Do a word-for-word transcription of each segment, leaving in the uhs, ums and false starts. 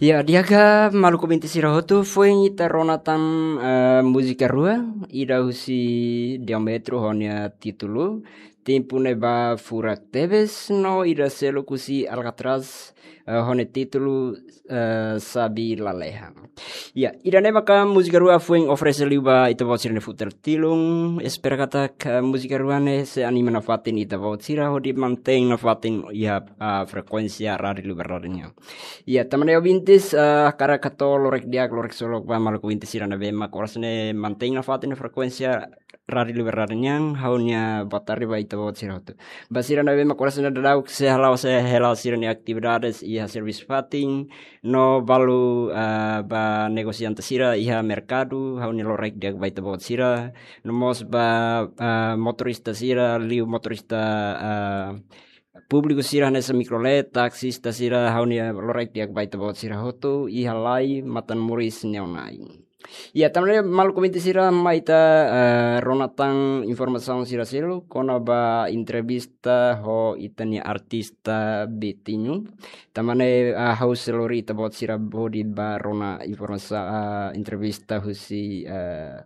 Ya, di'ak, maluk ouvinte sira hotu, foin ita rona tan, eh, múzika rua, ida husi Diametro ho nia títulu Tempu Ne'ebá Furak Tebes, no ida seluk husi Alcatraz, eh, ho nia títulu, eh, Sabi Lalehan. Ya, ida-ne'e maka múzika rua foin oferese liu ba ita-boot sira-nia futar tilun. Espera katak múzika rua ne'e sei anima nafatin ita-boot sira hodi mantein nafatin iha, ah, frekuénsia Rádiu Liberdade nian. Ya, tanba ne'e ouvintes, ah, hakarak hato'o lorokraik di'ak, lorokraik solok ba maluk ouvinte sira ne'ebé mak oras ne'e mantein nafatin frekuénsia Rádiu Liberdade nian, ha'u-nia boa tarde ba ita-boot sira hotu. Ba sira ne'ebé mak oras ne'e daudaun sei hala'o, sei hala'o sira-nia atividades iha servisu fatin, no balu, ah, ba negosiante sira iha merkadu, ha'u-nia lorokraik di'ak ba ita-boot sira, no mós ba, ah, motorista sira, liu motorista, ah, públiku sira hanesan mikrolet, taksista sira, ha'u-nia lorokraik di'ak ba ita-boot sira hotu, iha lai matan moris ne'e ona. Ya, tanba ne'e maluk ouvinte sira, mai ita, eh, rona tan informasaun sira seluk kona-ba entrevista ho ita-nia artista Betinho. Tanba ne'e, eh, ha'u sei lori ita-boot sira hodi ba rona informasa-, eh, entrevista husi, eh,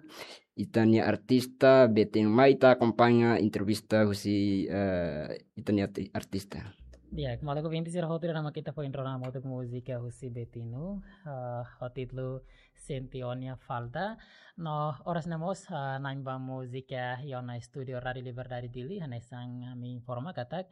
ita-nia artista Betinho. Mai ita akompaña entrevista husi, eh, ita-nia arti-, artista. Ya, kembali ke binti sira hotu, ida-ne'e mak ita foin rona hamutuk múzika husi Betinho, eh, ho títulu Sente Ó-nia Falta. No oras ne'e mós, eh, na'in ba múzika iha ona estúdiu Rádiu Liberdade Dili, hanesan ami informa katak,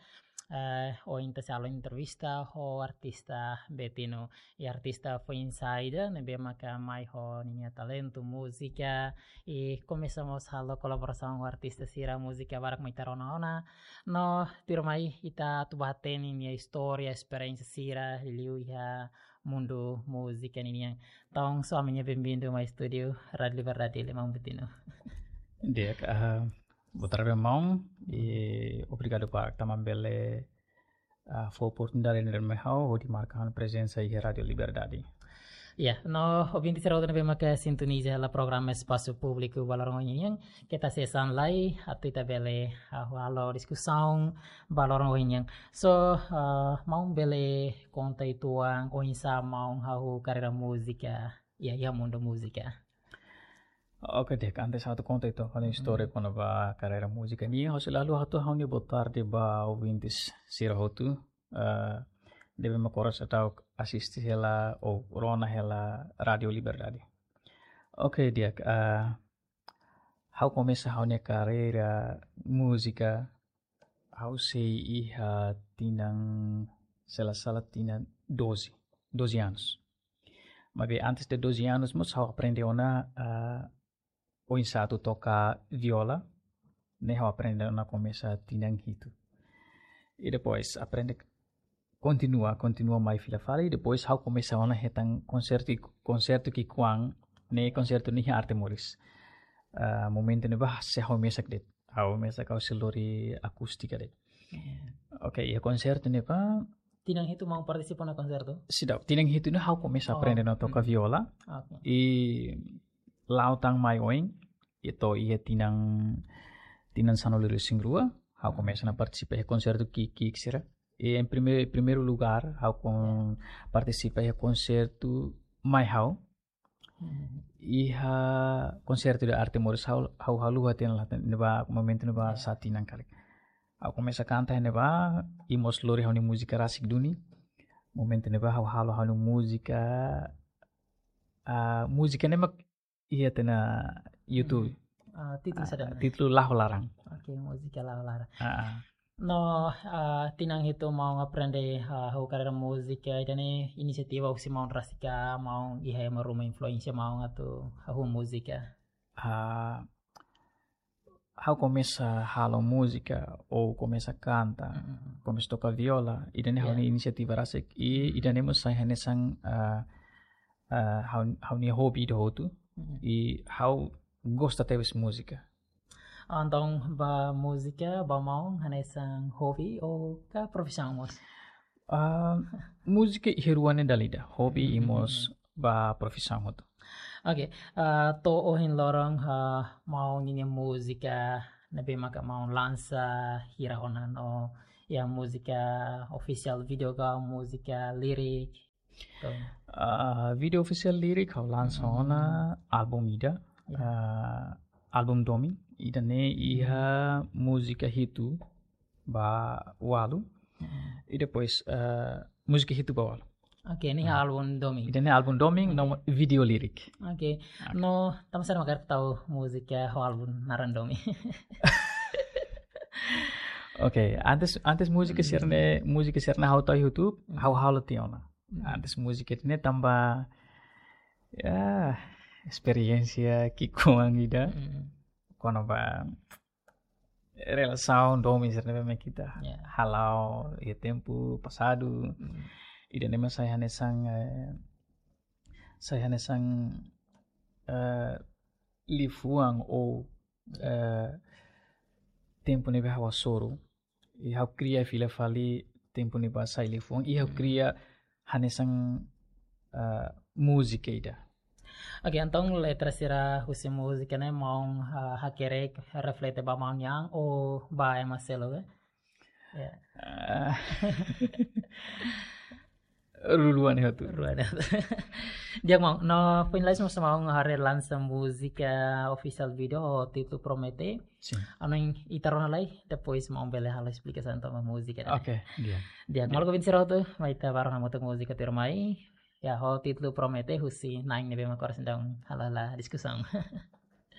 eh, ohin ita sei halo entrevista ho artista Betinho. I artista foin-sa'e ida ne'ebé maka mai ho ninia talentu múzika, i komesa mós halo kolaborasaun ho artista sira, múzika barak mak ita rona ona. No tuirmai ita atu bá hatene nia istória, esperiénsia sira liuliu iha mundu múzika ninian. Entaun, sou ami-nia benvindu mai estúdiu Rádiu Liberdade Dili, maun Betinho. Di'ak, ah, boa tarde, maun, i obrigadu barak tanba bele, ah, fó oportunidade ne'e mai ha'u hodi marka ha'u-nia prezensa iha Rádiu Liberdade. Ya, no, ouvinti sira hotu ne'ebé maka sintoniza hela programa Espasu Públiku ba loron ohin nian, keta hanesan lai, atu ita bele, ah, halo diskusaun ba loron ohin nian. So, ah, maun bele konta uitoan oinsá maun hahú karreira múzika, ya, iha mundu múzika. Oke, di'ak, antes atu konta uitoan ha'u-nia istória kona-ba karreira múzika nian, ha'u sei halo atu ha'u-nia boa tarde ba ouvintes sira hotu, eh, ne'ebé mak oras daudaun asiste hela ou rona hela Rádiu Liberdade. Oke, di'ak, eh, ha'u komesa ha'u-nia karreira múzika, ha'u sei iha tinan, se la sala tinan doze, doze anos. Maibé antes de doze anos, mós ha'u aprende ona, ah, oinsá atu toka viola, ne'e ha'u aprende ona komesa tinan hitu. I depois aprende kontinua, kontinua mai fila fali, i depois ha'u komesa ona hetan konsertu, konsertu ki'ikoan, ne'e konsertu ne'e iha Arte Moris. Ah, momentu ne'ebá sei ha'u mesak de'it. Ha'u mesak, ha'u sei lori akústika de'it. Oke, iha konsertu ne'ebá. Tinan hitu maun partisipa ona konsertu? Seidauk, tinan hitu ne'e ha'u komesa aprende ona toka viola. Oke. I la'o tan mai oin, i to'o iha tinan, tinan sanulu-resin-rua, ha'u komesa ona partisipa iha konsertu ki'ik-ki'ik sira. I em prime-, primeiru lugár, ha'u kon-, partisipa iha konsertu mai ha'u. Iha konsertu de Arte Moris ha'u, ha'u haluha tiha ona, ne'ebá momentu ne'ebá sa'e tinan karik. Ha'u komesa kanta ne'ebá, i mós lori ha'u-nia múzika rasik duni. Momentu ne'ebá ha'u halo ha'u-nia múzika, ah, múzika ne'e mak iha tiha ona YouTube. Ah, títulu saida? Títulu La'o Ho Laran. Oke, múzika La'o Ho Laran. Ah, ah. No, ah, tinan hitu maun aprende, ah, hahú karreira múzika, ida-ne'e inisiativa husi maun rasik ka, maun iha ema ruma influénsia maun atu hahú múzika? Ah, ha'u komesa halo múzika, ou komesa kanta, komesa toka viola, ida-ne'e ha'u-nia inisiativa rasik, i ida-ne'e mós sai hanesan, ah, ah, ha'u, ha'u-nia hobi ida hotu, i ha'u gosta tebes múzika. Entaun, ba múzika, ba maun, hanesan hobi ou ka profisaun mós? Ah, múzika iha rua ne'e dala ida, hobi i mós ba profisaun hotu. Oke, ah, to'o ohin loron, ah, maun ninia múzika, ne'ebé maka maun lansa, hira ona no, ya, múzika ofisiál vídeo ka, múzika lirik, Entaun, ah, vídeo ofisiál Lirik ha'u lansa ona álbum ida, ah, álbum Domin, ida-ne'e iha múzika hitu ba ualu. I depois, ah, múzika hitu ba ualu. Oke, ne'e álbum Domin. Ida-ne'e álbum Domin, no vídeo Lirik. Oke. No, tanba sá mak hakarak tau múzika ho álbum naran Domin? Oke, antes, antes múzika sira-ne'e, múzika sira-ne'e ha'u tau YouTube, ha'u halo tiha ona. Antes múzika ne'e tanba, ya, esperiénsia ki'ikoan ida. Kona-ba relasaun domin sira-ne'ebé mak ita hala'o iha tempu pasadu. Ida-ne'e mak sai hanesan, eh, sai hanesan, eh, liafuan ou, eh, tempu ne'ebé ha'u hasoru. I ha'u kria fila fali tempu ne'ebá sai liafuan. I ha'u kria hanesan, eh, múzika ida. Oke, entaun letra sira husi múzika ne'e maun, ah, hakerek reflete ba maun nian ou ba ema seluk, eh? Ya. Ah. Rua-rua ne'e hotu. Rua-rua ne'e hotu. Di'ak maun, no finaliza mós maun haree lansa múzika ofisiál vídeo ho títulu Promete. Sin. Anu ita rona lai, depois maun bele halo esplikasaun tentang múzika ne'e. Oke, di'ak. Di'ak, malu ko bin siroto, mai ita baru hamutuk múzika tuirmai. Ya, ho títulu Promete husi na'in ne'ebé mak oras daudaun halo diskusaun.